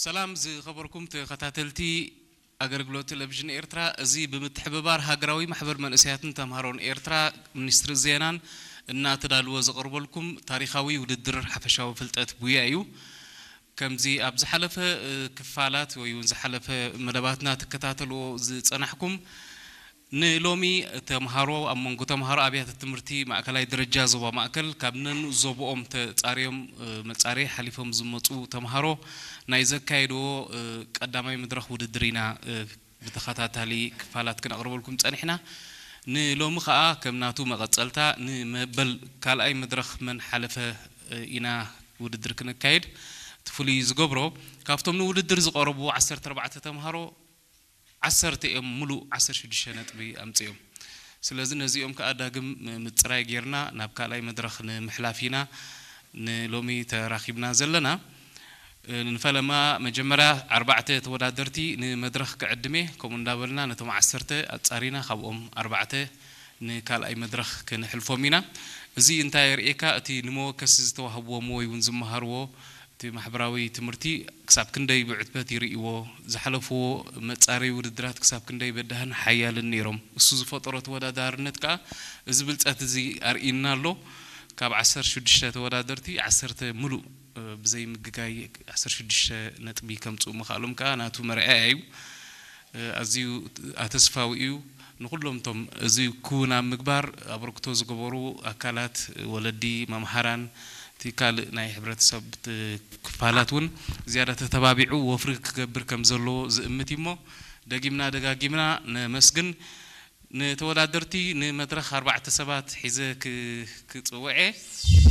ሰላም ዝኸበርኩም ተኸታተልቲ ኣገልግሎት ቴሌቪዥን ኤርትራ፣ እዚ ብምትሕብባር ሃገራዊ ማሕበር መንእሰያትን ተምሃሮን ኤርትራ፣ ሚኒስትሪ ዜናን እናተዳልወ ዝቐርበልኩም ታሪኻዊ ውድድር ሓፈሻዊ ፍልጠት ቡያ እዩ። ከምዚ ኣብ ዝሓለፈ፣ እ፣ ክፋላት ወይ እውን ዝሓለፈ መደባትና ትከታተልዎ ዝጸናሕኩም፣ ንሎሚ ተምሃሮ ኣብ መንጎ ተምሃሮ ኣብያተ ትምህርቲ ማእከላይ ደረጃ ዞባ ማእከል ካብ ነንኡ ዞባኦም ተጻርዮም፣ እ፣ መጻረዪ ሓሊፎም ዝመጹ ተምሃሮ ናይ ዘካየድዎ፣ እ፣ ቀዳማይ መድረኽ ውድድር ኢና፣ እ፣ ብተኸታታሊ ክፋላት ክነቕርበልኩም ጸኒሕና። ንሎሚ ኸኣ ከም ናቱ መቐጸልታ ንመበል ካልኣይ መድረኽ መን ሓለፈ፣ እ፣ ኢና ውድድር ክነካይድ። እቲ ፍሉይ ዝገብሮ ካብቶም ንውድድር ዝቐረቡ ዓሰርተ ኣርባዕተ ተምሃሮ ዓሰርተ እዮም ምሉእ ዓሰርተ ሽዱሽተ ነጥቢ ኣምጺኦም። ስለዚ ነዚኦም ከኣ ዳግም ምጽራይ ጌርና ናብ ካልኣይ መድረኽ ንምሕላፍ ኢና ንሎሚ ተራኺብና ዘለና። እ፣ ንፈለማ መጀመርያ ኣርባዕተ ተወዳደርቲ ንመድረኽ ክዕድም እየ። ከምኡ እንዳበልና ነቶም ዓሰርተ ኣጻሪና ካብኦም ኣርባዕተ ንካልኣይ መድረኽ ክንሕልፎም ኢና። እዚ እንታይ የርእየካ? እቲ ንመወከሲ ዝተዋህብዎም ወይ እውን ዝመሃርዎ እቲ ማሕበራዊ ትምህርቲ ክሳብ ክንደይ ብዕትበት ይርእይዎ፣ ዝሓለፍዎ መጻረዪ ውድድራት ክሳብ ክንደይ በዳህን ሓያልን ነይሮም። እሱ ዝፈጠሮ ተወዳዳርነት ከኣ እዚ ብልጸት እዚ ኣርእዩና ኣሎ። ካብ ዓሰርተ ሽዱሽተ ተወዳደርቲ ዓሰርተ ምሉእ፣ እ፣ ብዘይ ምግጋይ ዓሰርተ ሽዱሽተ ነጥቢ ከምጽኡ ምኽኣሎም ከኣ ናቱ መርኣያ እዩ። እ፣ ኣዝዩ ኣተስፋዊ እዩ። ንኹሎም እቶም እዚ ክውን ኣብ ምግባር ኣበርክቶ ዝገበሩ ኣካላት፣ ወለዲ፣ መምሃራን፣ እቲ ካልእ ናይ ሕብረተሰብ ት-፣ ክፋላት እውን ዝያዳ ተተባቢዑ ወፍሪ ክገብር ከም ዘለዎ ዝእምት እዩ እሞ፣ ደጊምና ደጋጊምና ነመስግን። ንተወዳደርቲ ንመድረኽ ኣርባዕተ ሰባት ሒዘ ክ-፣ ክጽውዕ እየ።